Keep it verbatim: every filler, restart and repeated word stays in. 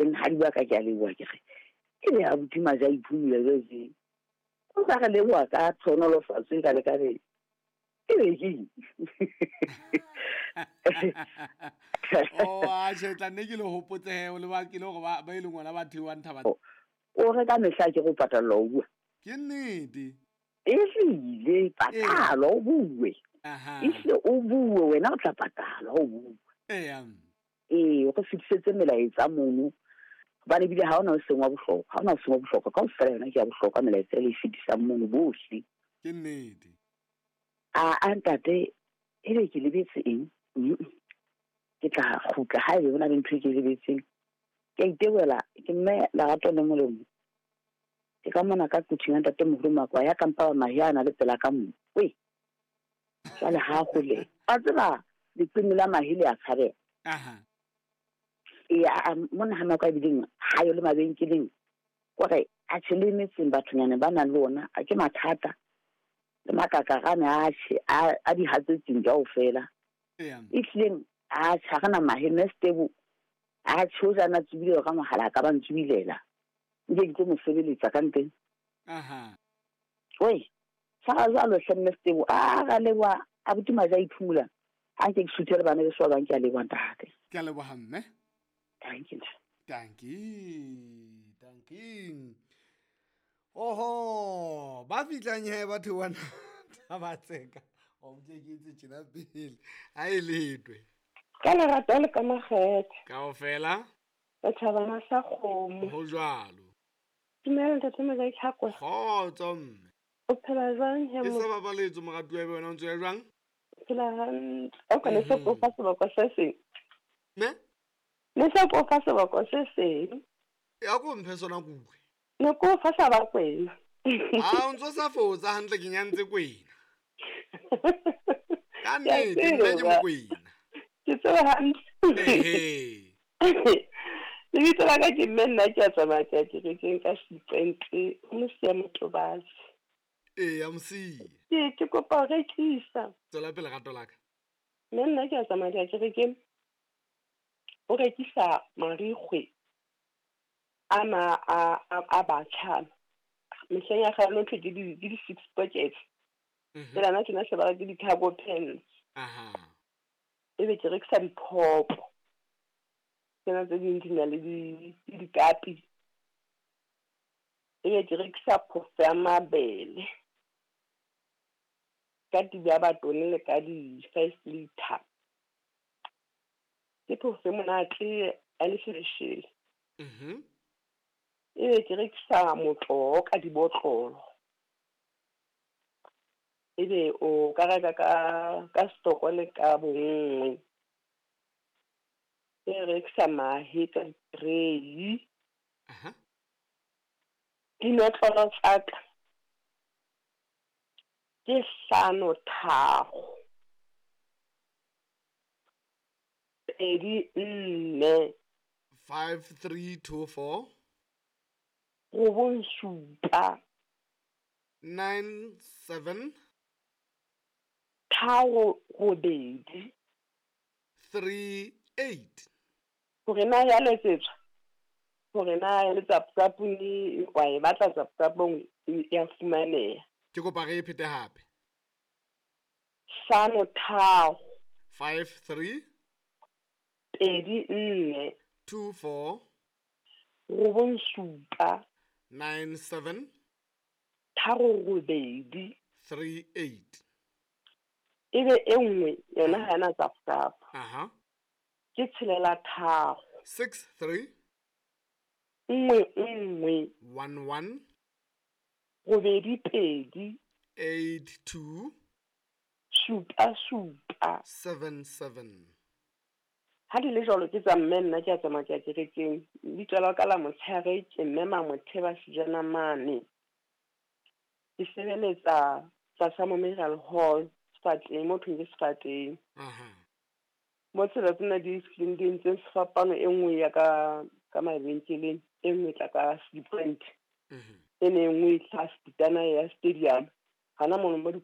Benghadi wa ka, ke a leboha ke re e be abuti Maje a iphumula jwale tje. O sa re leboha ka tlhonolofatso e ka le ka re e be keng? Oh, atjhe, tla nne ke le hopotse he, o le ba ke le hore ba ba e leng hona ba theohang thaba. O re ka mehla ke go patallwa o bua. Ke nnete. Ehlile patalwa o bue. Aha. Ehlile o bue wena o tla patalwa o bue. Eya. Ee, o re fetisetse melaetsa mono. Hobane ebile ha hona o seng wa bohlokwa, ha hona o seng wa bohlokwa, kaofela yona ke ya bohlokwa melaetsa e le e fetisang mono bohle. Ke nnete. A a ntate, ebe ke lebetse eng? Mm. Ke tla kgutla haebe hona le ntho e ke e lebetseng. Ke a itebohela, ke mme Lerato le Molemo. Ke ka mona ka kuthing ya ntate moholo Makwa ya kampa wa mahe a na le pela ka mo. Wee. Jwale ha hole. A tseba leqeme la mahe le a tshabeha. Aha. Ee, a mona ha nako e bileng ha yo le mabenkeleng. Kore a tjhe le metseng bathonyana ba nang le ona, a ke mathata. Le makakarane a tjhe a a di hatsetseng kaofela. Eya. Ehlileng a tjhe ha re na mahe mme Stebo a tjhe o jana tsubile ka mohala a ka ba ntsubilela. Nke ke tlo mo sebeletsa ka nteng. Aha. Wee, tshwara jwalo hle mme Stebo. A ra leboha abuti Maje a iphumula. Ha nke ke suthele bana beso ba bang, ke a leboha ntate. Ke a leboha mme. Thank you. Dankie. Dankie. Oho, ba fihlang he batho bana ba tseka. O mtle ke itse tjena pele. Ha e letwe. Ka lerato le ka makgethe. Kaofela. Setjhabana sa kgomo. Ho jwalo. Dumela ntate Mojaki Tlhakwe. Kgotso mme. O phela jwang he Ke mo? sa babaletso moratuwa ebe wena o ntso ya jwang? Phela hantle. O ka ne se ko fa seboko se seng. Ne? Ne se ko fa seboko se seng. Ya ko mphe sona kuwe. Ne ko fa sa ba kwena. Ah, o ntso sa fotsa hantle ke nyantse kwena. Ka Ke a nnete, nna ke tseba. mokwena. Ke tseba hantle. Ehe. Lebitso la ka ke mme nna ke a tsamaya ke ya kerekeng ka seqente, o Mosia Motobatsi. Ee, a Mosia. Ke ke kopa ho rekisa. Tswela pele rato la ka. Mme nna ke a tsamaya ke ya kerekeng. O rekisa marikgwe ana a a a batjha. Mehleng ya kgale no thwe ke di ke di six pockets. Mhm. Tsela na tjena se ba re ke di-cargo pants. Aha. Ebe ke rekisa diphopo. Tsena tse ding di na le di le dikapi. Ebe ke rekisa phofo ya mabele. Ka tibi ya batone le ka di five liter. Ke phofo e monate ya lesheleshele. Mhm. Ebe ke rekisa motoho ka dibotlolo. Ebe o ka reka ka ka stoko le ka bonngwe. E rekisa mahe ka di-tray. Aha. Dinotlolo tsa ka ke hlano tharo. Pedi nne. Five three two four. Robong supa. Nine seven. Tharo robedi. Three eight. Hore na ya letsetswa. Hore na ya letsa WhatsApp-ong wa e batla WhatsApp-ong ya fumaneha. Ke kopa re e phete hape. Hlano tharo. Five three. Pedi nne. Two four. Robong supa. Nine seven. Tharo robedi. Three eight. Ebe e nngwe yona ha ena WhatsApp. Aha. Ke tshelela tharo. Six three. Nngwe nngwe. One one. Robedi pedi. Eight two. Supa supa. Seven seven. Ha di le jwalo ke tsa mme nna ke a tsamaya ke ya kerekeng. Lebitso la ka la motshehare ke mme Mamotheba Sejana mane. Ke sebeletsa tlasa Memorial Hall Sefateng, mo thweng ke Sefateng. Aha. Mo tsela tsena di fihlileng di entse sefapano e nngwe ya ka ka mabenkeleng, e nngwe e tla ka Sea Point. Mhm. E ne e nngwe e tla Sepitana ya stadium. Hana mono mo di